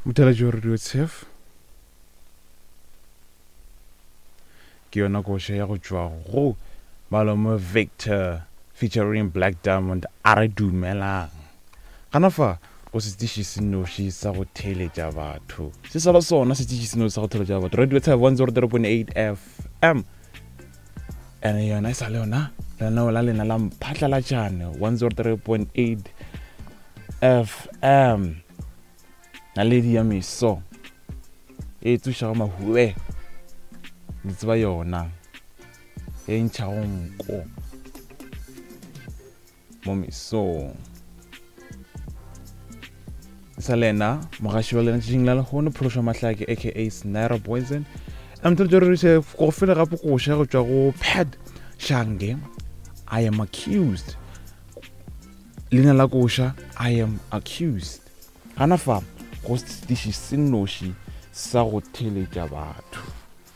Motheletši wa Radio Tshef ke yona koša ya go tšwa go Malome Victor featuring Black Diamond a re dumelang. Gana fa go setiši se noši sa go theeletša batho. Se sa ba sona setiši se noši sa go theeletša batho. Radio Tshef 103.8 FM. Ene yona e sa le yona lenaneo la lena la mphatlalatšane 103.8 FM. Naledi ya meso e tsošago mahube le tseba yona e ntšhago nko mo mesong sa lena mogaši wa lena tšatšing la lehono phološwa mahlake aka snara poison mtolotšororiše go fela gape koša go tšwa go pad shange I am accused leina la koša I am accused gana fa go setiši se nnoši sa go theletša batho.